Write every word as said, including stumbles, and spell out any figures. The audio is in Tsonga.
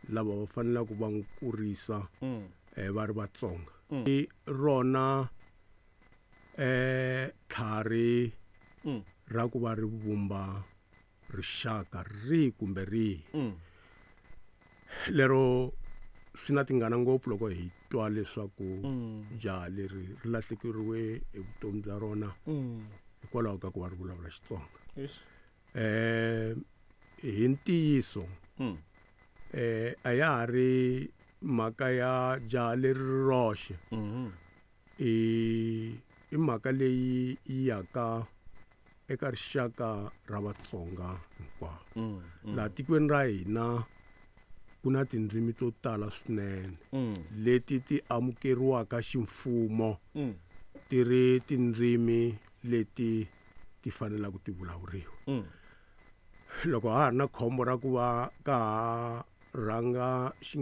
Lava va faneleke va n'wi kurisa Mm. eh, va ri Vatsonga. Mm. I rona eh tlhari Mm. ra ku va ri vumba rixaka rihi kumbe rihi. Mm. Lero swi na tingana ngopfu loko hi twa leswaku Mm. jaha leri ri lahlekeriwe hi vutomi bya rona Mm. hikwalaho ka ku va ri vulavula Xitsonga. Eish. Eh hi ntiyiso Mm. eh a ya ha ri mhaka ya jaha leri ri roxe. Mhm. I i mhaka leyi yi yaka eka rixaka ra Vatsonga hinkwavo. Mm. Mm. Laha tikweni ra hina ku na tindzimi to tala swinene Mm. leti ti amukeriwaka ximfumo Mm. ti ri tindzimi leti ti fanelaka ti vulavuriwa. Mm. Loko ha ha ri na khombo ra ku va ka ha rhanga xi